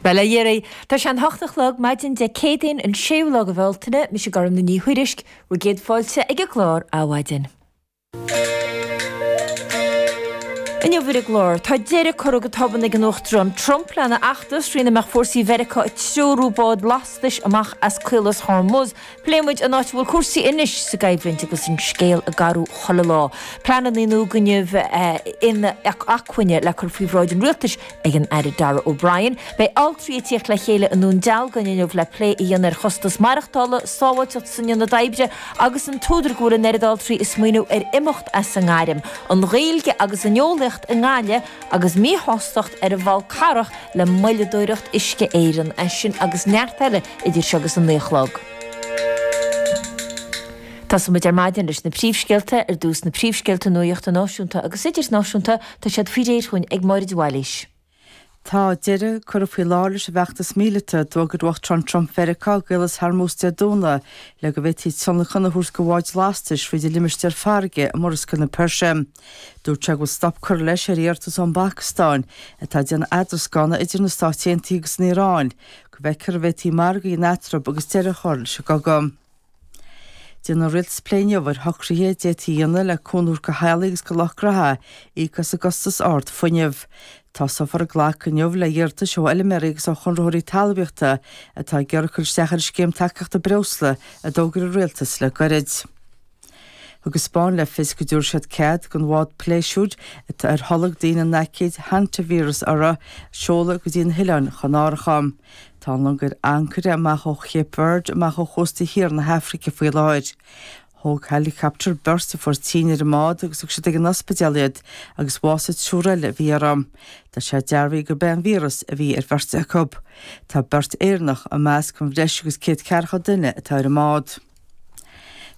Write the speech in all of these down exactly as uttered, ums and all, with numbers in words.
Bhuel, a Dheiridh, tá sé an hocht a chlog maidin Dé Céadaoin an séú lá de Bhealtaine, mise Gormfhlaith Ní Thuairisg, bhur gcéad fáilte ag an gclár Adhmhaidin. Inniu ar an gclár, tá deireadh curtha go tobann ag an Uachtarán Trump lena fheachtas trína mbeadh fórsaí Mheiriceá ag treorú bád lastais amach as Caolas Hormuz. Pléifidh muid an áit a bhfuil cúrsaí anois sa gcoimhlint agus an scéal ag athrú chuile lá. Pleananna nua fuinnimh inacmhainne le cur faoi bhráid an rialtais ag an Aire Darragh O'Brien. Beidh altraí ag tíocht le chéile i nDún Dealgan inniu le plé a dhéanamh ar chostas maireachtála, sábháilteacht san ionad oibre agus an t-údar go bhfuil an oiread altraí ag smaoineamh ar imeacht as an ngairm, an Ghaeilge agus an eolaíocht i nGaillimh agus míshástacht ar an bhFál Carrach le moilleadóireacht Uisce Éireann. É sin agus neart eile idir seo agus an naoi a chlog. Tosóidh muid ar maidin leis na príomhscéalta, ar dtús na príomhscéalta nuachta náisiúnta agus idirnáisiúnta, tá siad faoi réir chugainn ag Máire de Bhailís. Tá deireadh curtha faoi láthair leis an bhfeachtas míleata a d'fhógair Uachtarán Trump Mheiriceá i gCaolas Hormuz Dé Domhnaigh le go bhféadfaí tionlacan a thabhairt do bháid lastais fríd an limistéar farraige i Murascaill na Peirse. Dúirt sé go bhfuil stop curtha leis ar iarratas ón bPacastáin, atá ag déanamh eadrascána idir na Stáit Aontaithe agus an Iaráin, go bhfeicfear an bhféadfaí margadh a dhéanamh eatarthu agus deireadh a chur leis an gcogadh. Déanfaidh an Rialtas plé inniu ar shocruithe a d'fhéadfaí a dhéanamh le cúnamh a thabhairt do theaghlaigh agus do lucht gnótha íoc as an gcostas ard fuinnimh. Tosófar ag glacadh inniu le hiarratais ó fheilméaraí agus ó chonraitheoirí talmhaíochta atá ag iarraidh cur isteach ar an scéim tacaíochta breosla a d'fhógair an Rialtas le gairid. Thug an Spáinn le fios go dtabharfaidh siad cead don bhád pléisiúir atá ar tholg daoine an aicíd hantavíreas orthu seoladh go dtí na hOileáin Chanáracha. Tá an long ar ancaire amach ó Chape Verde amach ó chósta thiar na hAfraice faoi láthair. Thóg helicopter beirt a fuair tinn ar an mbád agus thug siad ag an ospidéal iad agus bhásaigh triúr eile a bhí orthu. Tá sé dearbhaithe gurb é an víreas a bhí ar bheirt acu. Tá beirt Éireannach i measc an bhreis agus céad ceathracha duine atá ar an mbád.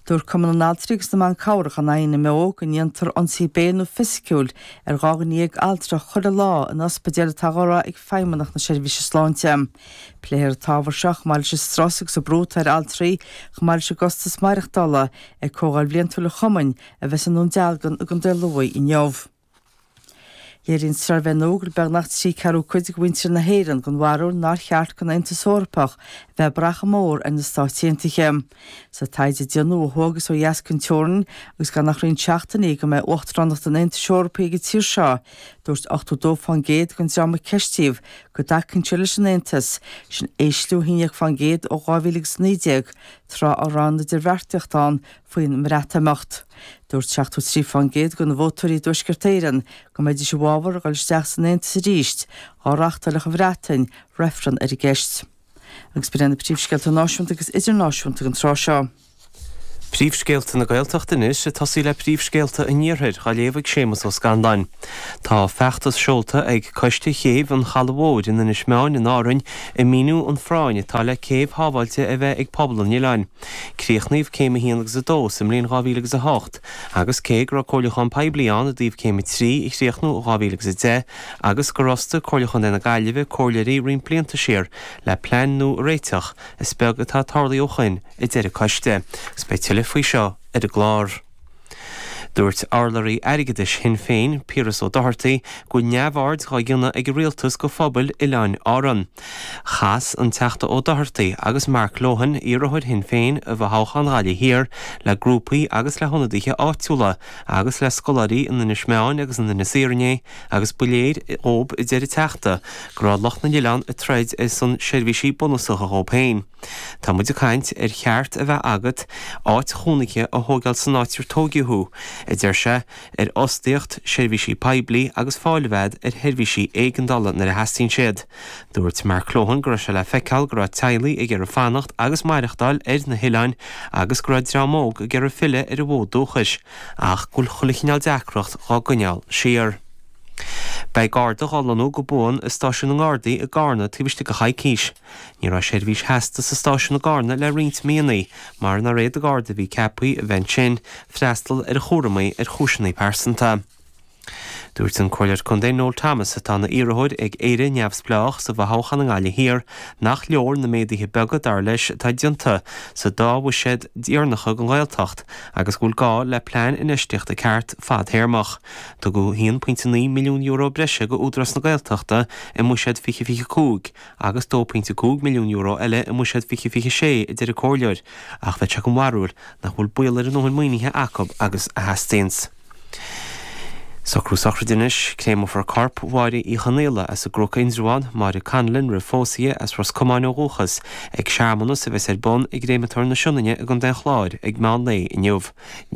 Dúirt Cumann na nAltraí agus na mBan Cabhrach an INMO go ndéantar ionsaí béil nó fisiciúil ar dhá dhuine dhéag altra chuile lá in ospidéil atá á rá ag Feidhmeannacht na Seirbhíse Sláinte. Pléifear an t-ábhar seo chomh maith leis an strus agus an brú atá ar altraí chomh maith leis an gcostas maireachtála ag comhdháil bhliantúil an chumainn a bheas i nDún Dealgan i gContae Lú inniu. Léiríonn suirbhé nua go bhfuil beagnach trí ceathrú cuid de mhuintir na hÉireann den bharúil nár cheart don Aontas Eorpach a bheith ag brath chomh mór ar na Stáit Aontaithe. Sa taighde a déanadh ó thuaidh agus ó dheas den teorainn agus gan ach roinnt seachtainí go mbeidh uachtaránacht an Aontais Eorpaigh ag an tír seo, dúirt ochtó dó fán gcéad den dream a ceistíodh go dtacaíonn siad leis an Aontas, sin ísliú a haon déag fán gcéad ó dhá mhíle agus a naoi déag, tráth a raibh an idirbheartaíocht ann faoin mBreatimeacht. Dúirt seachtó trí fán gcéad de na vótóirí i dTuaisceart Éireann go mbeidís i bhfabhar a dhul isteach san Aontas arís dá reáchtálfadh an Bhreatain reifreann ar an gceist. Agus b'in iad na príomhscéalta náisiúnta agus idirnáisiúnta don tráth seo. Príomhscéalta na Gaeltachta anois, ag tosaí le príomhscéalta an Iarthair, á léamh ag Séamus Ó Scanláin. Tá feachtas seolta ag Coiste Chéibh an Chalaidh Mhóir in Inis Meáin in Árainn ag míniú an phráinn atá le céibh shábháilte a bheith ag pobal an oileáin. Críochnaíodh Céim a haon agus a dó sa mbliain dhá mhíle agus a hocht agus cé go raibh comhairliúchán poiblí ann i dtaobh Céim a trí a chríochnú i dhá mhíle agus a deich agus gur fhostaigh Comhairle Chontae na Gaillimhe comhairleoirí roinnt blianta siar le plean nua a réiteach, is beag atá tarlaithe ó shoin, a deir an coiste, agus beidh tuilleadh faoi seo ar an gclár. Dúirt urlabhraí airgeadais Shinn Féin, Piaras Ó Dochartaigh, go bhfuil neamhaird dhá dhéanamh ag an rialtas go phobail Oileáin Árann. Chas an Teachta Ó Dochartaigh agus Mark Lohan, iarrthóir Shinn Féin i bhfothoghchán Ghaillimh Thiar, le grúpaí agus le hionadaithe áitiúla agus le scoláirí in Inis Meáin agus in Inis Oírr inné agus ba léir dhób, a deir an Teachta, go raibh lucht na n-oileán ag troid ar son seirbhísí bunúsacha dhób féin. Tá muid ag caint ar cheart a bheith agat áit chónaithe a thógáil san áit ar tóigeadh thú, a deir sé, ar fhostaíocht, seirbhísí poiblí agus fáil a bheith agat ar sheirbhísí éigeandála nuair a theastaíonn siad. Dúirt Mark Lohan go raibh sé le feiceáil go raibh teaghlaigh ag iarraidh fanacht agus maireachtáil ar na hoileáin agus go raibh dream óg ag iarraidh filleadh ar a bhfód dúchais ach go bhfuil chuile chineál deacracht dhá gcoinneáil siar. Beidh Garda dhá lonnú go buan i Stáisiún na nGardaí i gCarna taobh istigh de choicís. Ní raibh seirbhís sheasta sa stáisiún i gCarna le roinnt míonna mar nár fhéad an Garda a bhí ceaptha a bheith ansin freastal ar a chúramaí ar chúiseanna pearsanta. Dúirt an Comhairleoir Contae Noel Thomas atá ina iarrthóir ag Éire Neamhspleách sa bhfothoghchán i nGaillimh Thiar nach leor na méaduithe beaga dar leis atá déanta sa dá bhuiséad dheireanacha don Ghaeltacht agus go bhfuil gá le plean infheistíochta ceart fadtéarmach. Tugadh haon pointe naoi milliún euro breise go Údarás na Gaeltachta i mbuiséad fiche fiche cúig agus dó pointe cúig milliún euro eile i mbuiséad fiche fiche sé, a deir an comhairleoir, ach bheadh sé den bharúil nach bhfuil baol air a ndóthain maoinithe acu agus a theastaíonns. Socrú sochraide anois, Créamófar corp Mháire Uí Chonaola as an gCnoc Indreabhán, Máire Conlon roimh phósadh di, as Ros Comáin ó dhúchas, ag searmanas a bheas ar bun i gCréamatóir na Sionainne i gContae an Chláir ag meán lae inniu.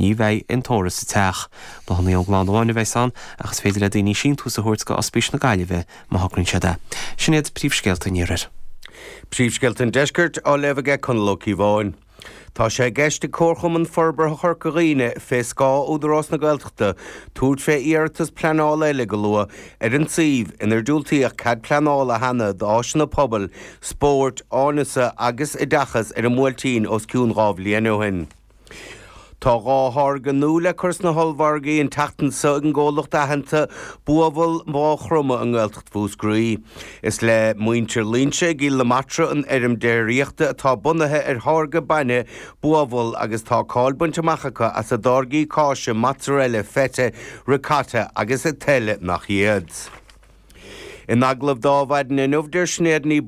Ní bheidh aon tórramh sa teach. Bláthanna ón gclann amháin a bheas ann ach is féidir le daoine síntiús a thabhairt go Ospís na Gaillimhe má thograíonn siad é. Sin iad príomhscéalta an Iarthair. Príomhscéalta an Deiscirt á léamh aige Conall Ó Cíobháin. Tá sé i gceist ag Comharchumann Forbartha Chorca Dhuibhne, fé scáth Údarás na Gaeltachta, tabhairt fé iarratas pleanála eile go luath ar an suíomh inar diúltaíodh cead pleanála cheana d'áiseanna pobail, spóirt, áineasa agus oideachais ar an mBuailtín os cionn dhá bhliain ó shin. Tá dhá tháirge nua le cur sna hollmhargaí an tseachtain seo ag an gcomhlacht aitheanta Buabhall Mhaigh Chromtha i nGaeltacht Mhúscraí. Is le muintir Loingsigh i gCill na Martra an fheirm déiríochta atá bunaithe ar tháirgeadh bainne buabhall agus tá cáil bainte amach acu as a dtáirgí cáise, mozzarella, feta, ricotta agus a tuilleadh nach iad. In agallamh d'Adhmhaidin inniu, deir Sinéad Ní.